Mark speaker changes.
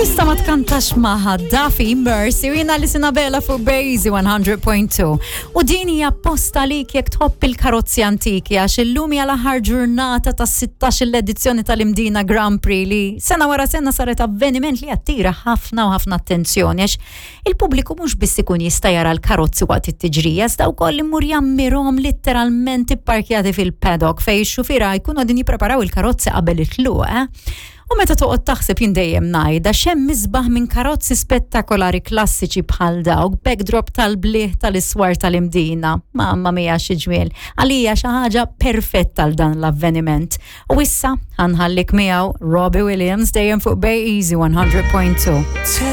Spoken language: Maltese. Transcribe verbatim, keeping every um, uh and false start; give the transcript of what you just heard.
Speaker 1: Tista' ma tkantax magħha Duffy Mercy u jiena Alison Abela fuq Bejzi one hundred point two. U din hija posta li jekk tħobb il-karozzi antiki, għax illum hija l-aħħar ġurnata tas-sittax l-edizzjoni tal-Imdina Grand Prix, li sena wara sena saret avveniment li attira ħafna u ħafna attenzjoni, għax il-pubbliku mhux biss ikun jista' jara l-karozzi waqt it-tiġrija, iżda wkoll imur jammirhom literalment ipparkjati fil-paddock fejn ix-xufiera jkunu qegħdin jippreparaw il-karozzi qabel it-tluq. Eh? U meta toqgħod taħseb, jien dejjem ngħidha, x'hemm isbaħ minn karozzi spettakolari klassiċi bħal dawk, backdrop tal-bliħ tal-iswar tal-Imdina? Mamma mia, xi ġmiel. Għalija xi ħaġa perfetta għal dan l-avveniment. U issa ħa nħallik miegħu Robbie Williams, dejjem fuq Bay Easy one hundred point two.